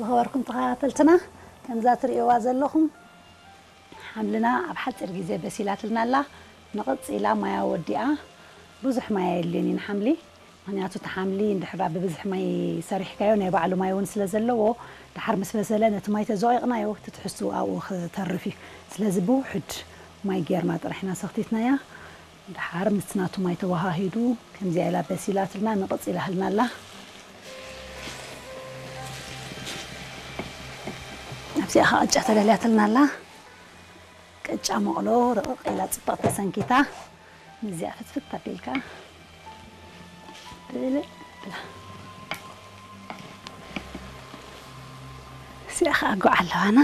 ዝኸበርኩም ተኸታተልትና፣ ከምዛ ትርእይዋ ዘለኹም ሓምልና ኣብ ሓፂር ግዜ በሲላትልና ኣላ። ንቕፅ ኢላ ማያ ወዲኣ። ብዙሕ ማያ የድልዮን እዩ ንሓምሊ፣ ምኽንያቱ እቲ ሓምሊ እንድሕር ብብዝሒ ማይ ሰሪሕካዮ ናይ ባዕሉ ማይ እውን ስለ ዘለዎ፣ ድሓር ምስ በሰለ ነቲ ማይ ተዘቒቕናዮ እቲ ትሕዝትኡ ኣብኡ ክተርፍ እዩ። ስለዚ ብውሑድ ማይ ጌርና ጥራሕ ኢና ሰኽቲትናያ። ድሓር ምስቲ ናቱ ማይ ተወሃሂዱ ከምዚኣ ኢላ በሲላትልና ንቕፅ ኢላትልና ኣላ። ኣብዚኣ ኸዓ ቅጫ ተዳልያትልና ኣላ። ቅጫ መቕሎ ርቕቕ ኢላ ጽብቕቲ ተሰንኪታ። ነዚኣ ፍትፍት ኣቢልካ ብልዕ ብላ። እዚኣ ኸዓ ጉዕ ኣለዋና።